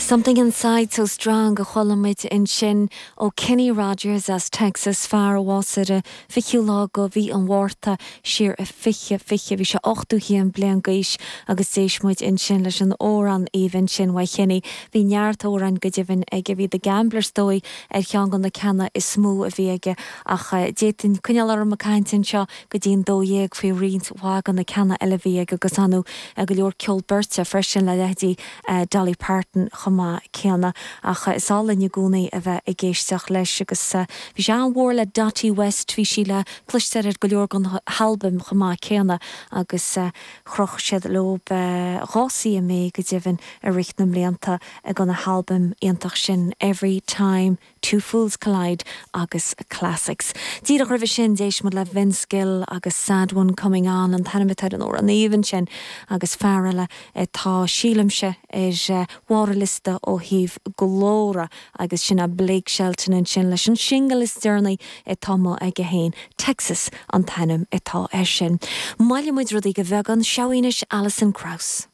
Something Inside So Strong a chuala muid ansin ó Kenny Rogers as Texas, fear a bhásaigh ar an 20ú lá de mhí an Mhárta siar i 2020. Bhí sé 81 bliain d'aois agus d'éist muid ansin leis an amhrán aoibhinn sin uaidh Kenny. Bhí neart amhráin go deimhin aige. Bhí The Gambler is dóigh ar cheann de na ceanna is mó a bhí aige ach d'fhéadfainn coinneáil orm ag caint anseo go dtí an 12 faoi roinnt mhaith de na ceanna eile a bhí aige agus ar ndóigh go leor ceol beirte freisin le leithéidí Dolly Parton chomh maith céanna. Ach is áil linn i gcónaí a bheith ag éisteacht leis agus bhí sé an-mhór le Dottie West, bhí sí le cloisteáil ar go leor den halbaim chomh maith céanna agus chroch siad leo 2 CMA go deimhin i rith na mblianta ag na halbaim iontach sin Every Time Two Fools Collide agus Classics. Díreach roimhe sin, d'éist muid le Vince Gill agus Sad One Coming On, an t-ainm atá ar an amhrán aoibhinn sin, agus fear eile atá, sílimse, ar bharr an liosta ó thaobh glóra agus sin é Blake Shelton ansin leis an singil is deireanaí atá amuigh aige féin, Texas an t-ainm atá air sin. Moillfidh muid rudaí de bheagán, seo í anois Alison Krauss.